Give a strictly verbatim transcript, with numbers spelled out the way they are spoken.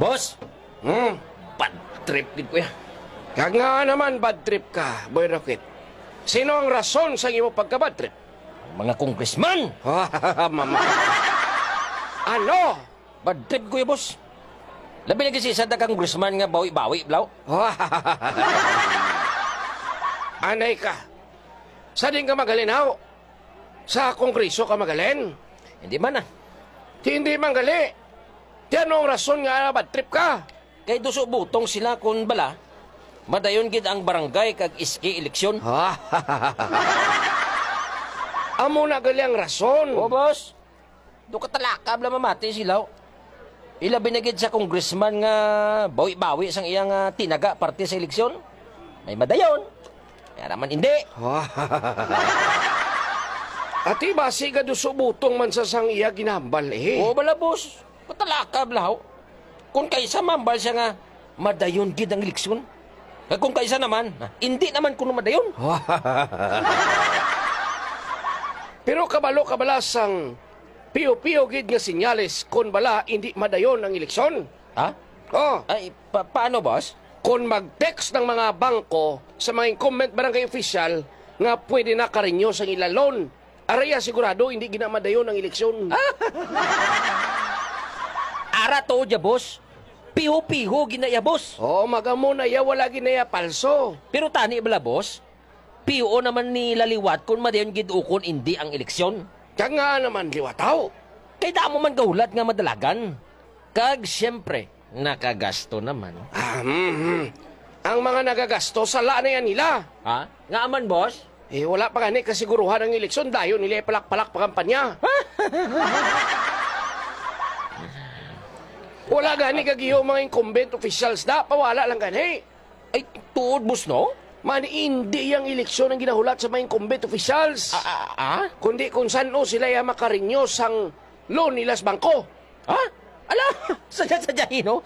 Boss, Hmm? Bad trip gid, kuya. Kag nga naman bad trip ka, Boy Rocket? Sino ang rason sa imo pagka-bad trip? Ang mga congressman! Mama. Ano? Bad trip, kuya, boss. Labi lagi si isa ka congressman nga bawi-bawi, blaw. Anay ka. Sa din ka magalinaw? Sa Kongreso ka magalin? Hindi man, ah. Di hindi man gali. Di ano ang rason nga bad trip ka? Kay duso butong sila kun bala, madayon gid ang barangay kag S K eleksyon. Amo na gali ang rason. O, boss. Do katalakab lang mamati sila. Ilabi na gid sa congressman nga bawi-bawi sang iyang, ah, tinaga parte sa eleksyon. May madayon. Kaya naman hindi. Ati basi ka duso butong man sa sang iya ginambal, eh. Oo, bala, boss. Katalakab lahaw. Kung kaisa mambal siya nga madayon gid ang eleksyon. Kag kung kaisa naman, ah, hindi naman kuno madayon. Pero kabalo ka bala sang piyo-piyo gid nga senyales kon bala hindi madayon ang eleksyon? Ha? Oh. Ay, pa-, paano, boss? Kon mag-text ng mga bangko sa mga incumbent barangay official nga pwede na ka-renew sang ila loan, araya sigurado hindi gid na madayon ang eleksyon. Ara tuod ya, boss. Piho-piho gid na ya, boss. Oo, magamo na ya, wala gid na ya palso. Pero tani bala, boss? Piho naman nila liwat kung madayon gid ukon indi ang eleksyon. Kag nga naman liwataw. Kay damo man gahulat nga madalagan. Kag siyempre, nakagasto naman. Ah, mhm. Ang mga nagagasto, sala na yan nila. Ha? Nga man, boss? Eh, wala pa gani kasiguruhan ang eleksyon, dayon nila palak-palak pa kampanya. Wala gani kagiyo mga incumbent officials na, pawala lang gani. Ay, tuod, boss, no? Man, hindi yang eleksyon ang ginahulat sa mga incumbent officials. Ah, ah, ah? Kundi kung saan o sila ya makarenew sang loan nila sa bangko. Ha? Ala, sadya-sadya, no?